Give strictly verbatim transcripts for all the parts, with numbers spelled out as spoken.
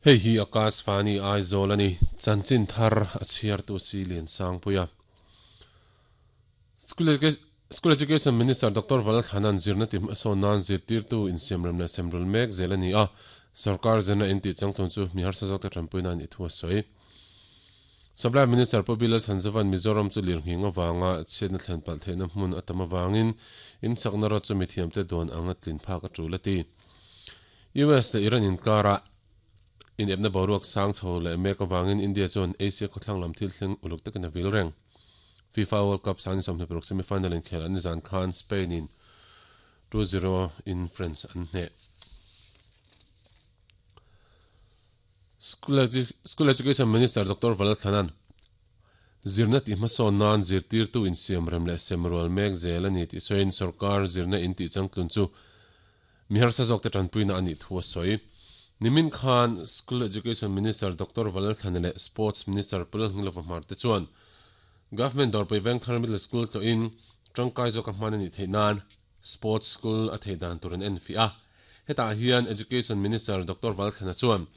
Hei hi Akashvani Aizawl ani chanchin thar a chhiar tu si lian sang puia. School Education, School Education Minister Doctor Valthanan zirna tim asawn nan zirtir tu insiamrem leh semrul mek zel ani a sarkar zirna inti changtlun chu mi harsa zawk te tanpui nan i thu a sawi. Supply Minister Pu Bilal Chanzavan Mizoram chu lirnghing awanga chhiatna thlen palh theihna hmun a tam awangin in chakna rawt chu mithiam te dawn anga tlin phak a tul a ti. U S le Iran inkara in epna boruak sang chho leh mek awangin India chuan Asia khawthlang lam thil thleng uluk takin a vil reng. FIFA World Cup sang sawmhnih paruk semi-final in khel an nizan khan Spain in two zero in France an hne. School, Edu School Education Minister Doctor Valathanan zirna ti hmasawn nan zirtir tu insiamrem leh semrual mek zel ani tih sawiin sarkar zirna in tih changtlun chu mi harsa zawk te tanpuina ani thu a sawi. Nimin Khan School Education Minister Doctor Valathan leh Sports Minister Pulal Hnilova Hmar te chuan Government Dawrpui Vengthar Middle School to in tangkai zawk a hman ani theih nan Sports School a thei dan tur an en fi a. Hetah hian Education Minister Doctor Valthana chuan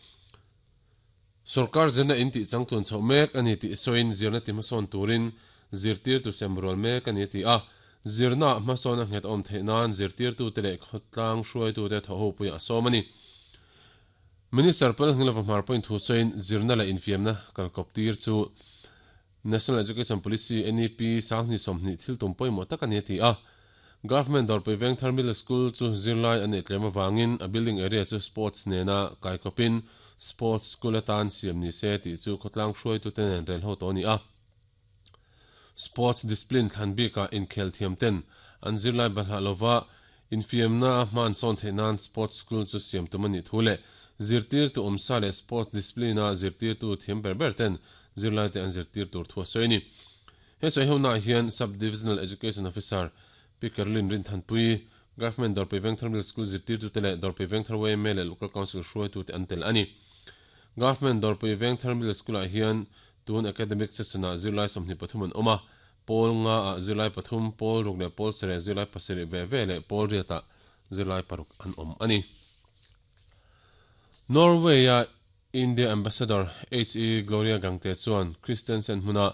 sarkar zirna in tih changtlun chho mek ani tih sawiin zirna ti hmasawn turin zirtir tu semrual mek ani ti a. Zirna hmasawn a nghet awm theih nan zirtir tu te leh khawtlang hruai tu te thaw ho pui a sawm ani. Minister Pulal Hnilova Hmar point thu sawiin zirna leh infiamna kalkawp tir chu National Education Policy N E P sanghnih sawmhnih thil tum pawimawh tak ani ti a. Government Dawrpui Vengthar Middle School chu zirlai an tlem awangin a building area chu sports nena kaikawpin sports school atan siam ni se tih chu khawtlang hruai tu te nen rel ho to ni a. Sports discipline thlan bika inkhel thiam ten an zirlai balhah lova infiamna a hman sawn theih nan sports school chu siam tum ani thu leh zirtir tu awmsa leh sports discipline a zirtir tu thiam ber ber ten zirlai te an zirtir tur thu a sawi ni. He sawi ho na hian Sub-Divisional Education Officer Pi Caroline Rinthanpui Government Dawrpui Vengthar Middle School zirtir tu te leh Dawrpui Vengthar Y M A leh Local Council hruai tu te an tel ani. Government Dawrpui Vengthar Middle School ah hian tun academic session ah zirlai sawmhnih pathum an awm a. Pawl nga ah zirlai pathum, pawl ruk leh pawl sarih zirlai pasarih ve ve leh pawl riat ah zirlai paruk an awm ani. Norway a India Ambassador H E Gloria Gangte chuan Christensen hmuna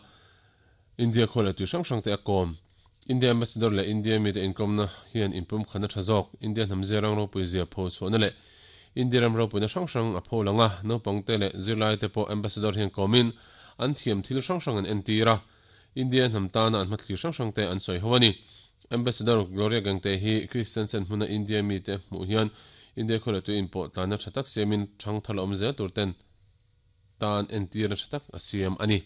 India khawle tui hrang hrang te a kawm. India Ambassador leh India mi te inkomna hian inpum khana tha zawk India hnam zerang ropui zia pho chhuahna leh India ram ropuina hrang hrang a pho langa naupang te leh zirlai te pawh Ambassador hian kawmin an thiam thil hrang hrang an entir a. India hnam tana an hmathlir hrang hrang te an sawi ho ani. Ambassador Gloria Gangte hi Christensen hmuna India mi te hmuh hian India khawle tu inpawh tlana tha tak siamin thang thar awm zel tur ten tan entir na tha tak a siam ani.